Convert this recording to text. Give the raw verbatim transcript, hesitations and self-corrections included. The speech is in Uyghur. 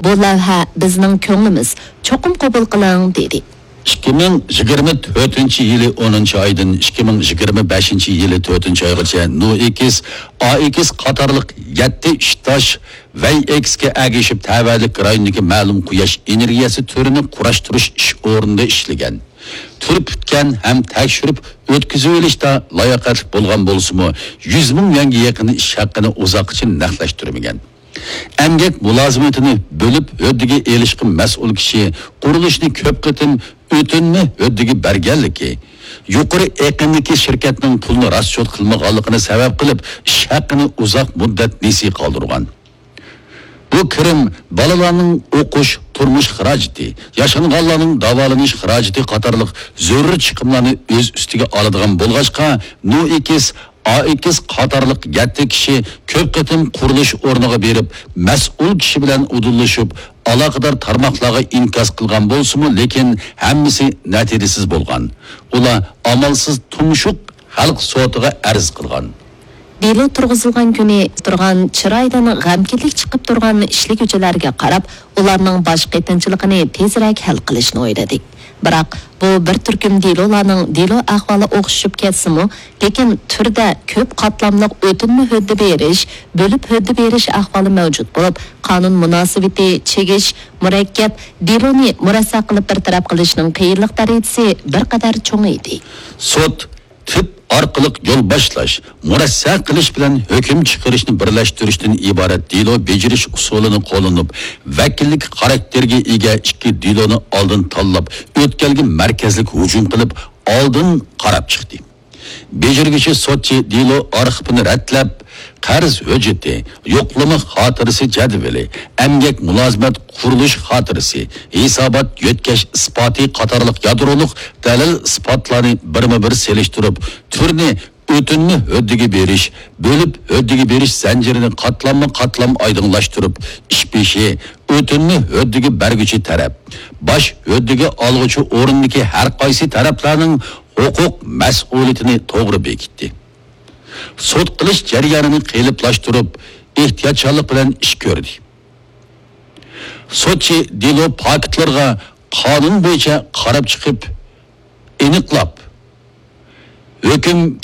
بۇ لەۋھە بىزنىڭ كۆڭلىمىز، چوقۇم قوبۇل قىلىڭ، دېدى. ئىككى مىڭ يىگىرمە تۆتىنچى يىلى ئونىنچى ئايدىن ئىككى مىڭ يىگىرمە بەشىنچى يىلى تۆتىنچى ئايغىچە نوئېكس، ئائېكس قاتارلىق يەتتە ئىشتاش ۋەيئېكسكە ئەگىشىپ تەۋەلىك رايوندىكى مەلۇم قۇياش ئېنېرگىيەسى تۈرىنى قۇراشتۇرۇش ئىش ئورنىدا ئىشلىگەن. تۈر پۈتكەن ھەم تەكشۈرۈپ ئۆتكۈزۈۋېلىشتا لاياقەتلىك بولغان بولسىمۇ، يۈز مىڭ يۈەنگە يېقىن ئىش ھەققىنى ئۇزاققىچە نەقلەشتۈرمىگەن. ئەمگەك مۇلازىمىتىنى بۆلۈپ ھۆددىگە ئېلىشقا مەسئۇل كىشى قۇرۇلۇشنى كۆپ قېتىم ئۆتۈنمە ھۆددىگە بەرگەنلىكى، يۇقىرى ئېقىمدىكى شىركەتنىڭ پۇلنى راسچوت قىلمىغانلىقىنى سەۋەب قىلىپ، ئىش ھەققىنى ئۇزاق مۇددەت نېسى قالدۇرغان. بۇ كىرىم بالىلارنىڭ ئوقۇش، تۇرمۇش خىراجىتى، ياشانغانلارنىڭ داۋالىنىش خىراجىتى قاتارلىق زۆرۈر چىقىملارنى ئۆز ئۈستىگە ئالىدىغان بولغاچقا، نوئېكس، ئائېكس قاتارلىق يەتتە كىشى كۆپ قېتىم قۇرۇلۇش ئورنىغا بېرىپ، مەسئۇل كىشى بىلەن ئۇدۇللىشىپ، ئالاقىدار تارماقلارغا ئىنكاس قىلغان بولسىمۇ، لېكىن ھەممىسى نەتىجىسىز بولغان. ئۇلار ئامالسىز تۇمشۇق خەلق سوتىغا ئەرز قىلغان. دېلو تۇرغۇزۇلغان كۈنى تۇرغان چىرايدىن غەمكىنلىك چىقىپ تۇرغان ئىشلىگۈچىلەرگە قاراپ، ئۇلارنىڭ باش قېتىنچىلىقىنى تېزرەك ھەل قىلىشنى ئويلىدى. بىراق، بۇ بىر تۈركۈم دېلولارنىڭ دېلو ئەھۋالى ئوخشىشىپ كەتسىمۇ، لېكىن تۈردە كۆپ قاتلاملىق ئۆتۈنمە ھۆددە بېرىش، بۆلۈپ ھۆددە بېرىش ئەھۋالى مەۋجۇت بولۇپ، قانۇن مۇناسىۋىتى چىگىش، مۇرەككەپ، دېلونى مۇرەسسە قىلىپ بىر تەرەپ قىلىشنىڭ قىيىنلىق دەرىجىسى بىر قەدەر چوڭىيدى. سوت، تىپ ئارقىلىق يول باشلاش، مۇرەسسە قىلىش بىلەن ھۆكۈم چىقىرىشنى بىرلەشتۈرۈشتىن ئىبارەت دېلو بېجىرىش ئۇسۇلىنى قوللىنىپ، ۋەكىللىك خاراكتېرىگە ئىگە ئىككى دېلونى ئالدىن تاللاپ، ئۆتكەلگە مەركەزلىك ھۇجۇم قىلىپ، ئالدىن قاراپ چىقتى. بېجىرگۈچى سوتچى دېلو ئارخىپىنى رەتلەپ، قەرز ھۆججىتى، يوقلىما خاتىرىسى جەدۋىلى، ئەمگەك مۇلازىمەت قۇرۇلۇش خاتىرىسى، ھېسابات يۆتكەش ئىسپاتى قاتارلىق يادرولۇق دەلىل ئىسپاتلارنى بىرمۇ بىر سېلىشتۇرۇپ، تۈرنى ئۆتۈنمە ھۆددىگە بېرىش، بۆلۈپ ھۆددىگە بېرىش زەنجىرىنى قاتلاممۇ قاتلام ئايدىڭلاشتۇرۇپ، ئىش بېشى، ئۆتۈنمە ھۆددىگە بەرگۈچى تەرەپ، باش ھۆددىگە ئالغۇچى ئورۇندىكى ھەر قايسى تەرەپلەرنىڭ ھوقۇق مەسئۇلىيىتىنى توغرا بېكىتتى. سوت قىلىش جەريانىنى قېلىپلاشتۇرۇپ، ئېھتىياتچانلىق بىلەن ئىش كۆردى. سوتچى دېلو پاكىتلىرىغا قانۇن بويىچە قاراپ چىقىپ، ئېنىقلاپ، ھۆكۈم